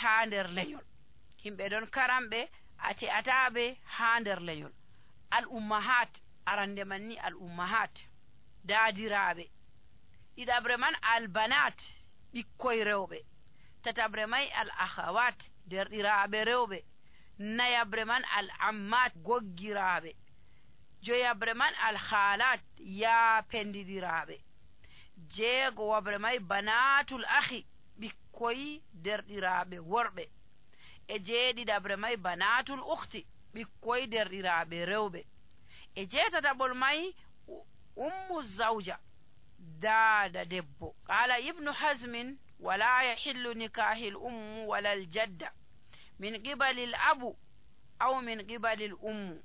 haa nder lenyol. Himɓe ɗon karamɓe ate ataɓe haa nder lenyol. Al ummahat arande man ni al ummahat daadiraaɓe. ɗiɗaɓre man al banat ɓikkoy rewɓe. tataɓre may al akhawat derɗiraaɓe rewɓe. nayaɓre man al ammat goggiraaɓe. joyaɓre man al khalat yaapendidiraaɓe. jeegowaɓre may banatul akhi ɓikkoy derɗiraaɓe worɓe. e jeeɗiɗaɓre may banatul ukhti ɓikkoy derɗiraaɓe rewɓe. e jeetataɓol may ummu zawja daada debbo. qala ibnu hazmin wala yahillu nikahil ummu wala al jadda min qibali l abu aw min qibali l ummu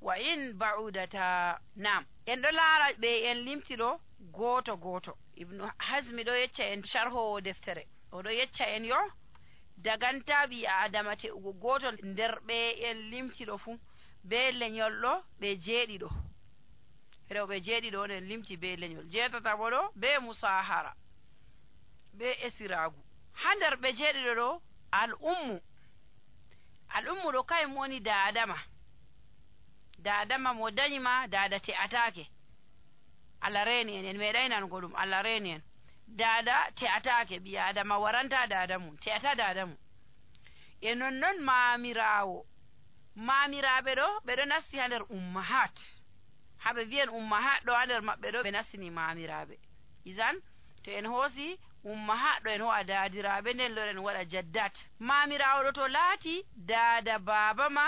wa in ba'udata. nam en ɗo laara ɓe en limtiɗo gooto gooto. ibnu hazmi ɗo yecca en sharhowo deftere oɗo yecca en yo daganta ɓi adama te'ugo gooto nder ɓe en limtiɗo fuu be lenyol ɗo ɓe jeeɗiɗo. rewɓe jeeɗiɗo on en limti be lenyol. jeetataɓo ɗo be musahara be esiragu. ha nder ɓe jeeɗiɗo ɗo al ummu ɗo kayum woni dadama mo dañima dada te'atake. Allah reeni en meeɗay nango ɗum. Allah reeni en. dada te'atake ɓi adama waranta dada mum te'ata dada mum. e nonnon maamiraɓe ɗo ɓeɗo nasti ha nder ummahat. haɓe wiyen ummahat ɗo ha nder maɓɓe ɗo ɓe nastini maamiraɓe. isan to en hoosi ummahat ɗo en ho'a daadiraɓe nden loren waɗa jaddat. maamirawo ɗo to laati dada baba ma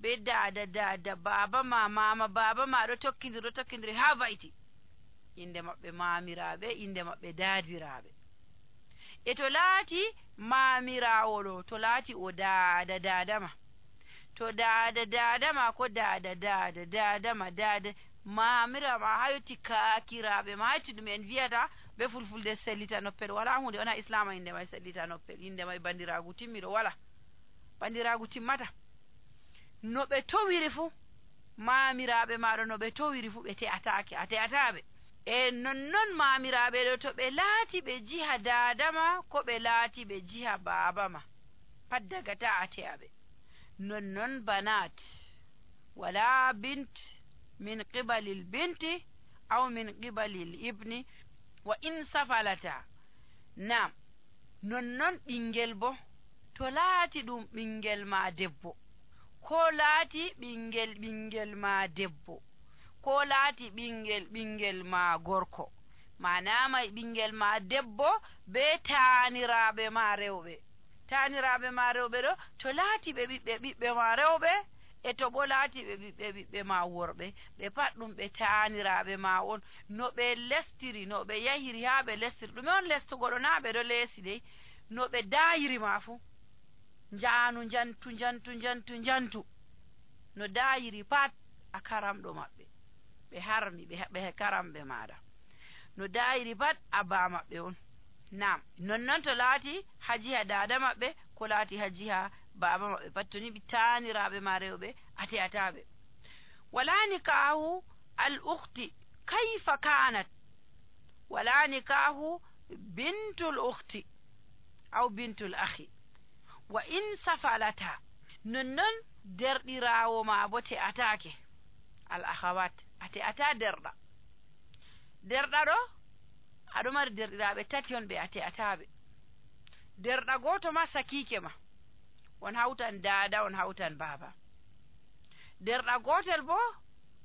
be dada baba ma mama baba ma ɗo tokkidiri ha vayti inde maɓɓe maamiraɓe inde maɓɓe daadiraɓe. e to laati maamirawo ɗo to laati o dadama to dadama ko dadama maamirama ha yotti kaakiraɓe ma hatti ɗum en wiyata be fulfulde sellita noppel. wala hunde wona islama inde may sellita noppel. inde may bandiragu timmiɗo wala bandiragu timmata. no ɓe towiri fuu maamiraɓe maɗo no ɓe towiri fuu ɓe te'atake a te'ataɓe. e nonnon maamiraɓe ɗo to ɓe laati ɓe jiha dadama ko ɓe laati ɓe jiha babama pat dagata a te'aɓe. nonnon banat wala bint min qibalil binti aw min qibalil ibni wa in safalata. nam nonnon ɓingel bo to laati ɗum ɓingel ma debbo ko laati ɓingel ma debbo ko laati ɓingel ma gorko manama ɓingel ma debbo be taaniraɓe ma rewɓe. taaniraɓe ma rewɓe ɗo to laati ɓe ɓiɓɓe ma rewɓe e to bo laati ɓe ɓiɓɓe ma worɓe ɓe pat ɗum ɓe taaniraɓe ma on. no ɓe lestiri no ɓe yahiri ha ɓe lestiri ɗume on lestugo ɗo na ɓe ɗo leesi dey no ɓe dayiri ma fuu njaanu njantu no dayiri pat a karamɗo maɓɓe ɓe harmi ɓe karamɓe maɗa no dayiri pat a ba maɓɓe on. nam nonnon to laati ha jiha dada maɓɓe ko laati ha jiha baba maɓɓe pat to ni ɓe taaniraɓe ma rewɓe a te'ataɓe. wala nikahu al ukhti kayfa kanat wala nikahu bintul ukhti aw bintul akhi wa in safalata. nonnon derɗirawo ma bo te'atake al akhawat a te'ata derɗa ɗo aɗo mari derɗiraɓe tati on ɓe a te'ataɓe. derɗa goto ma sakike ma on hawtan dada on hawtan baba. derɗa gotel bo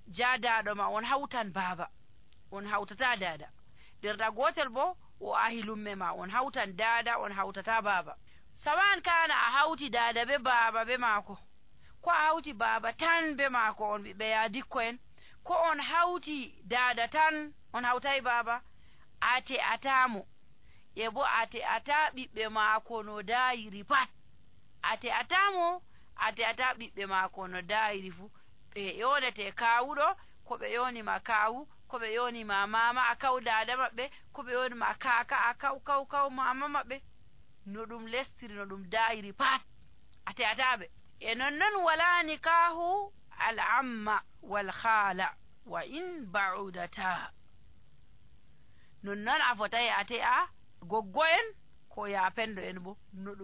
jadaɗo ma on hawtan baba on hawtata dada. derɗa gotel bo o ahi lumme ma on hawtan dada on hawtata baba. sawan kana a hawti dada be baba be maako ko a hawti baba tan be maako on ɓiɓɓe yaadikko en ko on hawti dada tan on hawtay baba a te'atamo e bo a te'ata ɓiɓɓe maako no dayiri pat a te'atamo a te'ata ɓiɓɓe maako no dayiri fuu. ɓe yonete kawuɗo ko ɓe yonima kawu ko ɓe yonima mama a kaw dada maɓɓe ko ɓe yonima kaka a kaw mama maɓɓe no ɗum lestiri no ɗum dayiri pat a te'ataɓe. e nonnon wala nikahu al amma wal khala wa in ba'udata. nonnon a fotayi a te'a goggo en ko ya pendo en bo no ɗum